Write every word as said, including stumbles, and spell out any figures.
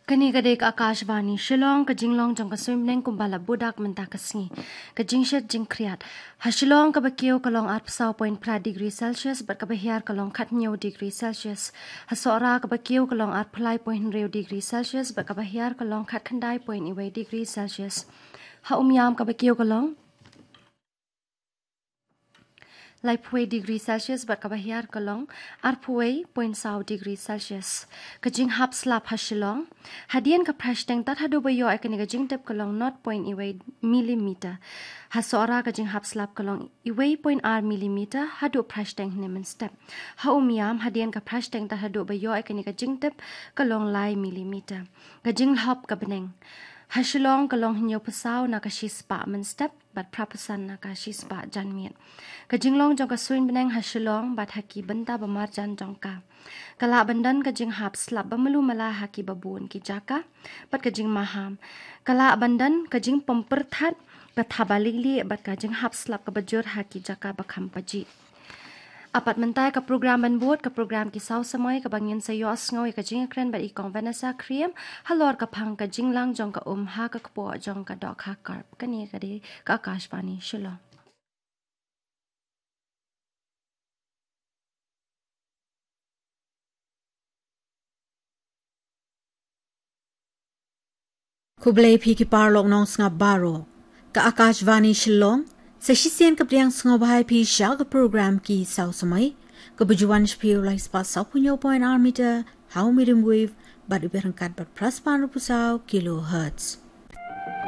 Kane ka dei ka Akashvani Shillong, ka jinglong jong ka suiñ bneng kumba la budak mynta ka sngi. Ka jingshit jingkhriat. Ha Shillong kaba kiew ka long arphew saw point phra degree Celsius, bad kaba hiar ka long khathynñiew degree Celsius. Ha Sohra kaba kiew ka long arphew lai point hynriew degree Celsius, bad kaba hiar ka long khatkhyndai point wei degree Celsius. Ha Umiam kaba kiew ka long laiphew wei degree Celsius, bad kaba hiar ka long arphew wei point saw degree Celsius. Ka jinghap slap ha Shillong. Hadien ka phra shiteng tad haduh ba ïoh ïa kane ka jingtip ka long nought point wei millimeter. Ha Sohra ka jinghap slap ka long wei point ar millimeter haduh phra shiteng hynne mynstep. Ha Umiam hadien ka phra shiteng tad haduh ba ïoh ïa kane ka jingtip ka long lai millimeter. Ka jinglhop ka bneng. Ha Shillong ka long hynñiewphew saw na ka shispah mynstep, bad phraphew san na ka shispah janmiet. Ka jinglong jong ka suiñ bneng ha Shillong bad ha ki bynta ba marjan jong ka. Ka lah ban don ka jinghap slap ba malu mala ha ki babun ki jaka, bad ka jingmaham. Ka lah ban don ka jingpom pyrthat, ka thaba lieh lieh, bad ka jinghap slap kaba jur ha ki jaka ba kham pajih. Apat mynta ka program ban bud, ka program Ki Saw Samoi, kaba ngin sa ïohsngew ïa ka jingïakren bad i Kong Vanessa Khyriem, halor ka phang ka jinglang jong ka um ha ka kpoh jong ka dohkha karp. Kane ka dei ka Akashvani Shillong. Khublei phi ki paralok nongsngap baroh. Ka Akashvani Shillong, sa shisien ka pdiang sngewbha ïa phi sha ka program Ki Saw Samoi, kaba ju wan sha phi u lai spah sawphew hynñiew point ar meter ha u medium wave, bad u byrngkat bad phra spah hynriewphew saw kilohertz.